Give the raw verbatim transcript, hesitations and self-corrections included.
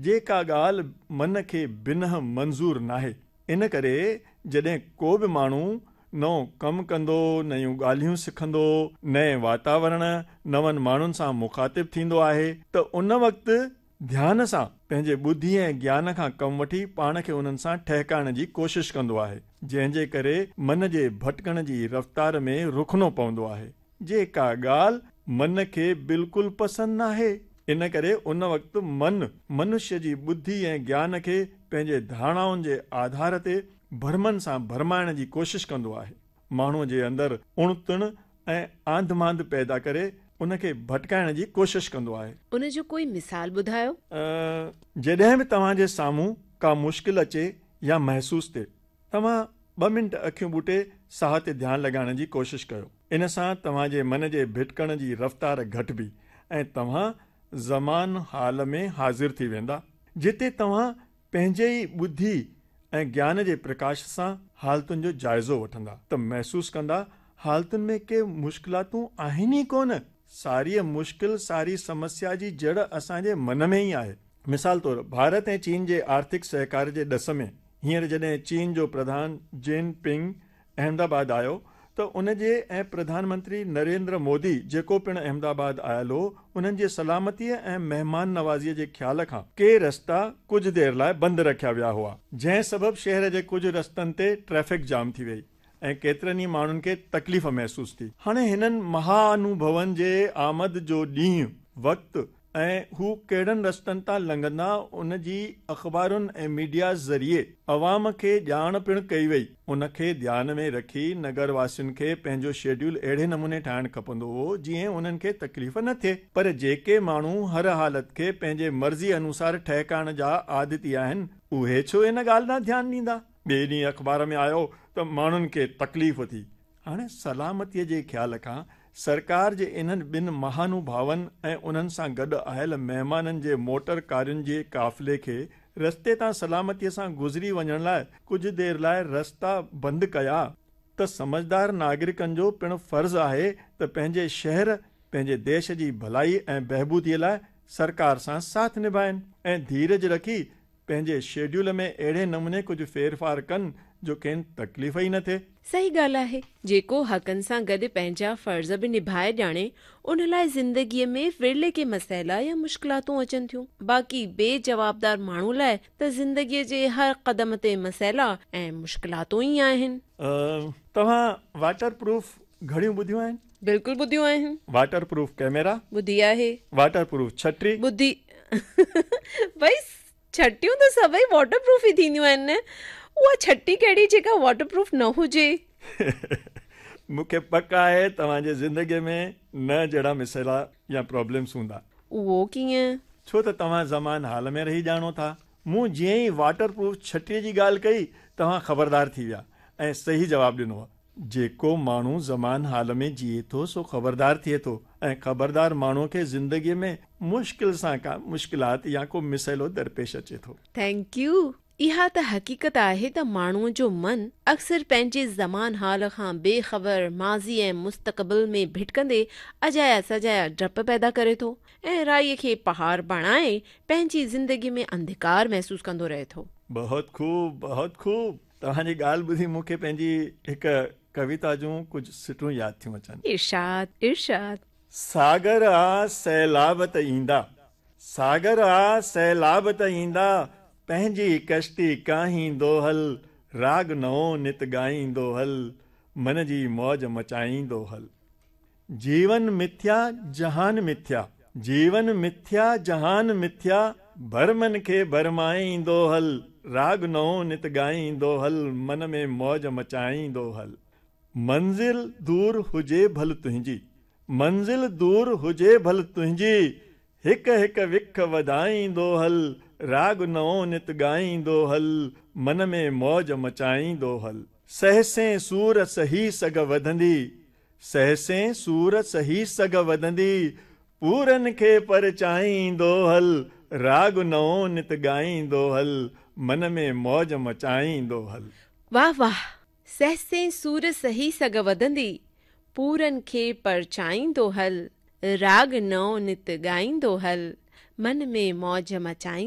جيڪا ڳالهه من کي بنهه منظور ناهي. ان ڪري جڏهن ڪو به ماڻهو نئون ڪم ڪندو، نيون ڳالهيون سکندو، نئين واتاورڻ، نون ماڻهن سان مخاطب ٿيندو آهي ته ان وقت ڌيان سان پنهنجي ٻڌي ۽ گيان کان ڪم وٺي پاڻ کي انهن سان ٺهڪائڻ جي ڪوشش ڪندو آهي، جنهن جي ڪري من جي ڀٽڪڻ جي رفتار ۾ رخنو پوندو آهي، جيڪا ڳالهه من کي بلڪل پسند ناهي. ان ڪري ان وقت من منشيه جي ٻڌي ۽ گيان کي پنهنجي ڌارڻائن جي آڌار تي ڀرمن سان ڀرمائڻ جي ڪوشش ڪندو آهي. ماڻهوء جي اندر اڻ تڻ ۽ آنڌ مانڌ پيدا ڪري ان کي ڀٽڪائڻ جي ڪوشش ڪندو آهي. ان جو ڪوئي مثال ٻڌايو؟ جڏهن به توهان جي سامهون ڪا مشڪل اچي يا محسوس ٿئي، توهان ٻه منٽ اکيون ٻوٽي ساهه تي ڌيان لڳائڻ جي ڪوشش ڪيو. ان سان توهان جي من جي ڀٽڪڻ جي رفتار گهٽبي ۽ توهان زمان حال ۾ حاضر ٿي ويندا، جتي توهان پنهنجي ئي ٻڌي ۽ گيان جي پرڪاش سان حالتن جو جائزو وٺندا ته محسوس ڪندا حالتن ۾ ڪي مشڪلاتون آهن ئي ڪونه. ساريء مشڪل، ساري سمسيا جي جڙ اسان جي من ۾ ئي آهي. مثال طور ڀارت ۽ چين جي آرٿڪ سهڪار جي ڏس ۾ هينئر جڏهن چين جو پرڌان جين پنگ احمدآباد آيو ته ان جي ۽ پرڌان منتري نريندر مودي جيڪو پڻ احمدآباد آيل هو، انهن جي سلامتيء ۽ مهمان نوازيء جي خيال کان ڪي رستا ڪجهه دير لاء بند رکيا ويا هئا، جنهن سبب شهر جي ڪجهه رستن تي ٽريفڪ جام ٿي وئي ۽ ڪيترن ئي ماڻهن کي تڪليف محسوس ٿي. هاڻي هنن مهانوڀون جي آمد جو ڏينهن، وقت ۽ هو ڪهڙن رستن تان لنگهندا ان جي اخبارن ۽ ميڊيا ذريعي عوام کي ڄاڻ پڻ ڪئي وئي. ان کي ڌيان ۾ رکي نگر واسين کي پنهنجو شيڊيول اهڙي نموني ٺاهڻ کپندو هو جيئن انهن کي تڪليف نه ٿئي. پر جيڪي ماڻهو هر حالت کي پنهنجي مرضي انوسار ٺهڪائڻ جا عادتي آهن، اهي ڇو ان ڳالهه ڏانهن ڌيان ڏيندا؟ ٻئي ڏينهن اخبار ۾ آيو ته ماڻهن کي تڪليف ٿي. هاڻي سلامتيء جي خيال کان سرڪار جي انهن ٻن مهانوڀاون ۽ انهن سان گڏ آيل مهمانن جي موٽر ڪارين جي قافلي کي رستي تان سلامتيء سان گذري وڃڻ لاء ڪجهه دير لاء رستا بند ڪيا ته سمجهدار ناگرڪن جو پڻ فرض آهي ته پنهنجي شهر، پنهنجي ديش جي ڀلائي ۽ بهبوديء لاء سرڪار سان ساٿ نڀائين ۽ ڌيرج رکي پنهنجي شيڊيول ۾ اهڙي نموني ڪجهه ڦيرڦار ڪن جو کين تڪليف ئي نه ٿئي. صحيح ڳالهه آهي. جيڪو حقن سان گڏ پنهنجا فرض به نڀائي ڄاڻي، ان لاء زندگيء ۾ ورلي ڪي مسئلا يا مشڪلاتون اچن ٿيون. باقي بي جوابدار ماڻهو لاء ته زندگيء جي هر قدم تي مسئلا ۽ مشڪلاتون ئي آهن. توهان واٽر پروف گهڙيون ٻڌيون آهن؟ بلڪل ٻڌيون آهن. Waterproof camera? ٻڌي آهي. واٽر پروف ڇٽري؟ ٻڌي. ڀئي ڇٽيون ته سڀئي واٽر پروف ئي ٿينديون آهن نه، اها ڇٽي ڪهڙي جيڪا واٽر پروف نه هجي؟ مون کي پڪ آهي توهان جي زندگيء ۾ نه جهڙا مسئلا يا پرابلمس هوندا. اهو ڪيئن؟ ڇو ته توهان زمان حال ۾ رهي ڄاڻو ٿا. مون جيئن ئي واٽر پروف ڇٽيء جي ڳالهه ڪئي، توهان خبردار ٿي ويا ۽ صحيح جواب ڏنو. جيڪو ماڻهو زمان حال ۾ جيئي ٿو سو خبردار ٿئي ٿو ۽ خبردار ماڻهوء کي زندگيء ۾ مشڪل سان ڪا مشڪلات يا ڪو مسئلو درپيش اچي ٿو. Thank you. اها ته حقيقت آهي ته ماڻهوء جو من اڪثر پنهنجي زمان حال کان بي خبر ماضي ۽ مستقبل ۾ ڀٽڪندي اجايا سجايا ڊپ پيدا ڪري ٿو ۽ رائي کي پهاڙ بڻائي پنهنجي زندگيء ۾ انڌڪار محسوس ڪندو رهي ٿو. بهت خوب، بهت خوب. توهان جي ڳالهه ٻڌي مون کي پنهنجي هڪ ڪويتا جون ڪجهه سٽون ياد ٿيون اچن. ارشاد، ارشاد. ساگر آ سيلاب ته ايندا، ساگر آ سيلاب ته ايندا، پنهنجي ڪشتي ڪاهيندو هل، راڳ نئون نت ڳائيندو هل، من جي موج مچائيندو هل. جيون مٿيا جهان مٿيا، جيون مٿيا جهان مٿيا، ڀرمن کي ڀرمائيندو هل، راڳ نئون نت ڳائيندو هل، من ۾ موج مچائيندو هل. منزل دور هجي ڀل تنهنجي، منزل دور هجي ڀل تنهنجي، هڪ هڪ وک وڌائيندو هل، راڳ نئون نت ڳائيندو هل، من ۾ موج مچائيندو هل. سهسين سور سهي سگهه وڌندي، سهسين سور سهي سگهه وڌندي، پورن کي پرچائيندو هل، راڳ نئون نت ڳائيندو هل، من ۾ موج مچائيندو هل. واهه واهه! سهسين سور سهي سگهه وڌندي، پورن کي پرچائيندو هل، راڳ نئون نت ڳائيندو هل، من ۾ موج مچائيندو